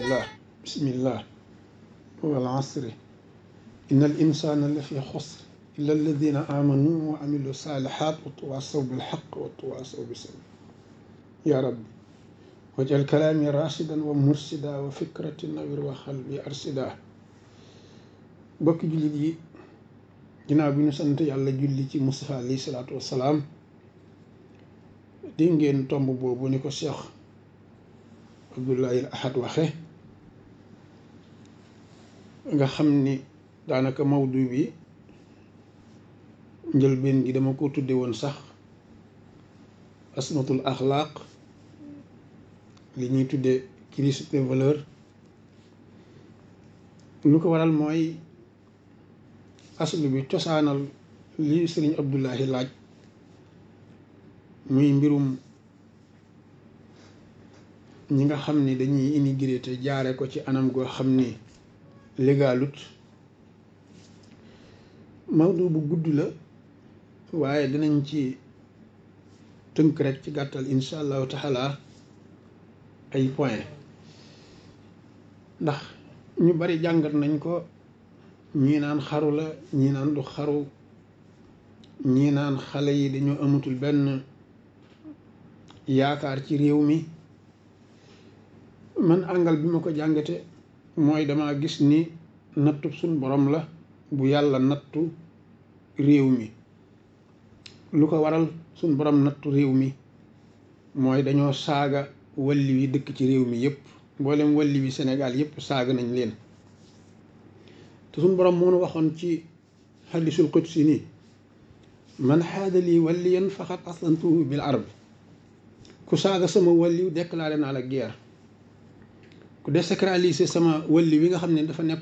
alhamdulillah bismillah wal asri inna al insana la fi xusr illa alladina amanu wa amilu salihat wa tawasaw bil haqq wa tawasaw bis sabr ya rabbi wajal kalaami rashidan wa mursida wa fikrati nawir wa xalbi arsida. bokki jullit yi ginnaaw bi ñu sant yàlla julli ci Mustafa alayhi salaatu wassalaam di ngeen tomb boobu ni ko Cheikh Abdoulaye al Ahad waxe nga xam ni daanaka mawdu bi njëlbeen gi dama ko tudde woon sax asmatul axlaaq li ñuy tudde crise des valeurs. lu ko waral mooy aslu bi cosaanal li sëriñ Abdoulaye laaj muy mbirum ñi nga xam ni dañuy immigré te jaare ko ci anam goo xam ni légalut. mawdu bu gudd la waaye dinañ ci tënk rek ci gàttal insha allahu taala ay point ndax ñu bari jàngat nañ ko, ñii naan xaru la, ñii naan du xaru, ñii naan xale yi dañoo amatul benn yaakaar ci réew mi. man àngal bi ma ko jàngate mooy dama gis ni nattu suñ borom la bu yàlla nattu réew mi. lu ko waral suñ borom nattu réew mi mooy dañoo saaga walli wi dëkk ci réew mi yépp, mboolem walli wi Sénégal yépp saaga nañ leen. te suñ borom moo nu waxoon ci hadisul qudsi ni man xaada lii walliyan faqad aslantuhu bil arb. ku saaga sama walliw déclaré naa la guerre. ku désacraliser sama walli wi nga xam ne dafa nekkoon